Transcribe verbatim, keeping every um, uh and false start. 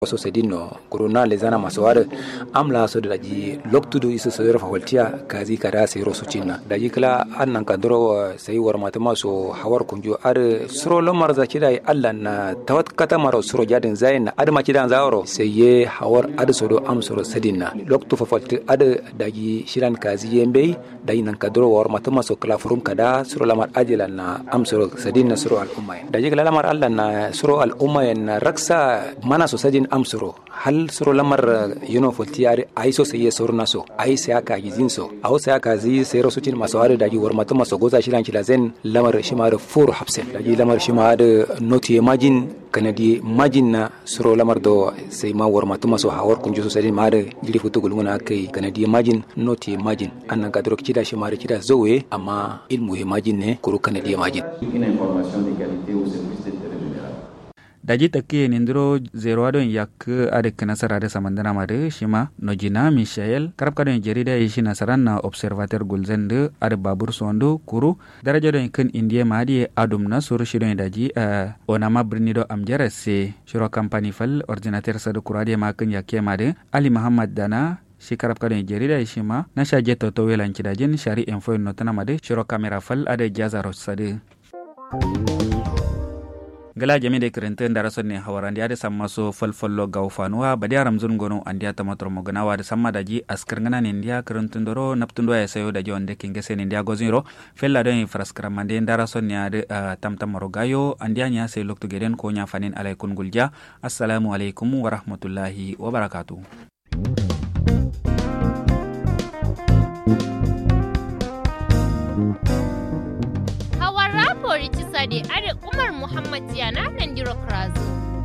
Sosedin no kuru na lezana maso adǝ. Am la so daji loktu dǝ isu so yero fafaltiya kazi kada sai ro sucinna daji kǝla adǝ nanka duro sai warmatǝma so hawar kunju adǝ suro lamar za cida ye allan na tawat katamaro suro jadin zayin na adǝ ma cidan zawaro sai ye hawar adǝ so do am suro sadin na loktu fafaltǝ adǝ daji shilan kazi ye mbeyi. Daji nanka duro warmatǝma so kǝla furum kada suro lamar ajilan na am suro sadin na suro al'umma yen daji kǝla lamar allan na suro al'umma yen na raksa mana so sadin am suro hal suro lamar yino folti adǝ ayi so sai ye soruna so ayi sai aka gizin so awo sai aka zi sai ro sucin maso adǝ daji warmatǝma so goza shilan cilazen lamar shima adǝ furo hapsen daji lamar shima adǝ notu ye majin kanadi ye majin na suro lamar do sai ma warmatǝma so hawar kunju so sadin ma adǝ jiri futu gulguna akai kanadi ye majin notu ye majin annan kaduro cida shima adǝ cida zauwe amma ilmu ye majin ne kuru kanadi ye majin. Daji takkiye nindiro zerowa don yakkǝ adǝ kǝnasar adǝ samandǝna madǝ shima nojina michael karabka don jarida ye shi nasaran na observateur gulzan dǝ adǝ babur sondu kuru daraja don kǝn indiye ma adǝ ye adum na suru shi don daji onama birni do amjara se shiro kampani fal ordinateur sadǝ kuru adǝ ye ma kǝn yakkiye madǝ ali muhammad dana shi karabka don jarida ye shima nasha jetto tauye lan cidajin shari info yen notǝna madǝ shiro kamera fal adǝ jazaro sadǝ. Ngla jami de kǝrǝntǝ ndara sonne hawar andiya dǝ samma so falfallo gawo fanuwa badiya ramzun gono andiya tamatoro mogǝnawa dǝ samma daji askǝr ngǝna nindiya kǝrǝntundoro naptunduwa ye sayo daji wande kingese nindiya gozǝnyiro fella don ye faraskǝramande ndara sonne adǝ tamtamaro gayo andiya nya sai loktu geden ko nya fanin alaikun gulja. Assalamu alaikum warahmatullahi wabarakatu. Hawar rapori cisa de adǝ umar muhammad yana nandiro kǝrazu.